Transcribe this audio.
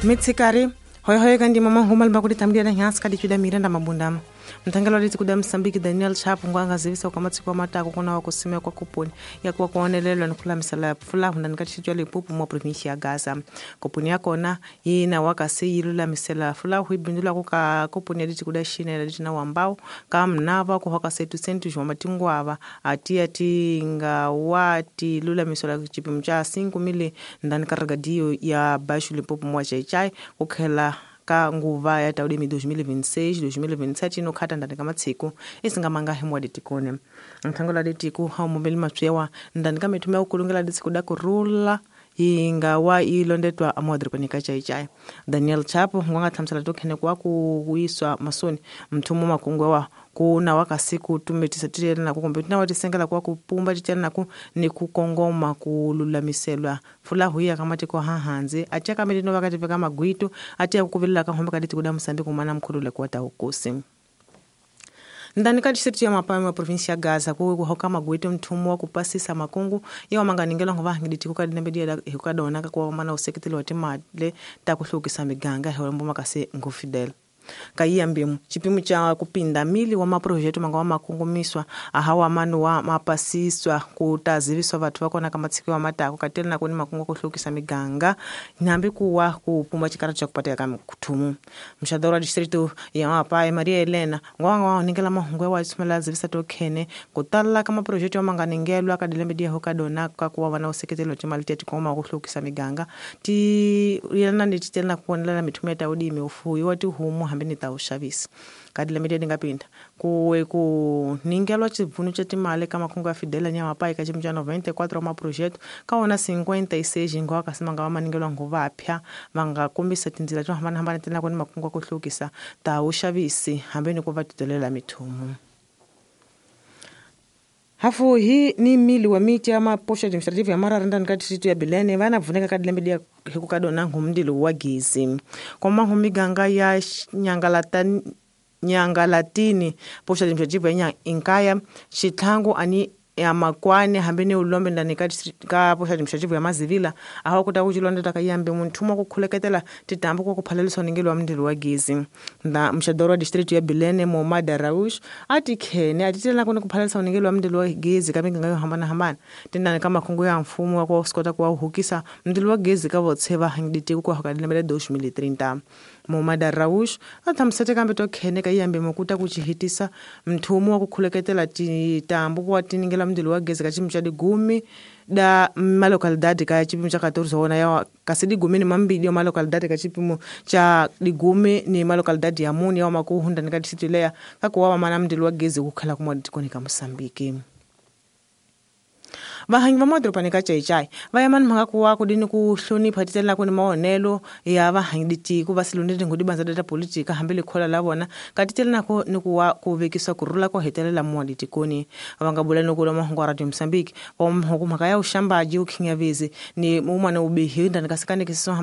Mitsikari hoyohoyo kandi mama huma limba tambira nyasi kadi chuda Miranda Mabunda mthangelo liti kuda Msambiki Daniel Chapo ngwanga zivisa kwa matsiko matako kuna wakusimia kwa kuponi ya kwa kuonelelwa nikula misala fula hunda nikatishijwa Limpopo mwa provinsi ya Gaza kuponi yakona yina wakasi yilula misala fula huibindula kuka kuponi liti kuda shina liti na wambao kamnava kuhoka setu sentu jwa matingwava atia tinga wati lula misala chipimo cha 5 mili ndani karagadio ya Bashu Limpopo mwa Chaichai kukhela ka nguva ya taudimi 2026 2027 inokhata ndani ka matsiku isingamanga himwa ditikone nthangola ditiku haumumeli matswewa ndani ka mithuma ya ukulungela ditsiku da kurula yinga wa ilondetwa amwadripani ka chaichai Daniel Chapo ngwanga thamsala tokhene kwa kuwiswa masoni mthumu makungwe wa kuna wakasiku tumetisa tiyela naku kumbe tina watisengela kwa kupumba tiyela naku ni kukongoma kululamiselwa fula huya kamatiko hahanzi atia kametino vakati veka magwitu atia kukuvelela kahombe kaditi kuda Msambi kumana mkhulule kuwata ukusi ndani ka district ya Mapame wa provinsi ya Gaza kuhoka magwete mthumu wa kupasisa makungu ya wamanganingela ngova hangiditi kukadinambedia hukadona kakuwa mana useketeli wa timale ta kuhlukisa miganga helembo makase ngufidel kaiyambimu chipimo cha kupinda mili wa maprojeto manga wa makungumiswa ahawa manu wa mapasiswa kutaziviswa vathu vakona kamatsiko wa matako katela na kuni makungu kuhlukisa miganga nyambi kuwa kupumba chikara cha kupatika kamkuthumu mshadoro wa distrito ya Mapai Maria Elena ngwanga wa ningela mahungwe wa tsumela zivisa tokhene kutala ka maprojeto manganingelwa kadilembedia hokadona kakuwa wana useketelo timali teti koma kuhlukisa miganga ti yelana ni titela kuonela mithumu ya taudimi ufuyi wa tihumu hambi ni ta uxavisa kadilembedia ndingapinda kuwe ku ningelwa chibvunu cha timali ka makungu ya Fidela Nyamapai ka chipimo cha 94 wa maprojeto ka wona 56 ngwa kasi manga wa maningelwa nguva apya vanga kombisa tindzila to hambanahambana tena kuni makungu ya ku hlukisa ta uxavisi hambi ni ku va titelela mithumu. Hafu hii ni mili wa miti ya maposho administrative ya mara renda nikati situ ya Bilene vana vuneka kadilembedia hikukadona ngumndilo wa gizi kwa mangu miganga ya Nyangalatini posho administrative ya Inkaya Chithangu ani ya Makwane hambeni ulombe ndani ka posho administrative ya Mazivila aho kuta kuchilonda takayambe munthumo kukhuleketela titambo kwa kuphalelisa ningelo wa mndilo wa gizi nda mshadoro wa district ya Bilene Momada Raush ati khene atitela kuna kuphalelisa ningelo wa mndilo wa gizi kamiganga yo hambana hambana tindani ka makhungu ya mfumo wa kuskota kwa uhukisa mndilo wa gizi ka votseva hangiditi kwa hakadile 2030 Momada Raush athamsete kambe tokhene kayambe mokuta kuchihitisa mthumo wa kukhuleketela titambo kwa tiningela mndilo wa gezi ka chipimo cha digumi da malocalidade ka chipimo cha 14 wona ya kasi digumi ni mambili ya malocalidade ka chipimo cha digumi ni malocalidade ya muni ya makuhunda ni ka district leya kakuwa mana mndilo wa gezi kukhala kumwa tikoni ka Mosambiki. Vahangi va madoroba ka Chaichai va ya mani mhaka kuwa kudini ku hlonipha titela kuni maonelo ya vahangi ditiko va silonde ngudi banza data politika hambi likhola la vona ka titela nako ni kuwa ku vekisa kurula ko hetelela mwa ditikoni va nga bula ni ku mahungu wa Radio Mosambiki va mhaka ya uxambaji ukhinyavezi ni umwana ubihi ndani ka sikanikisiso.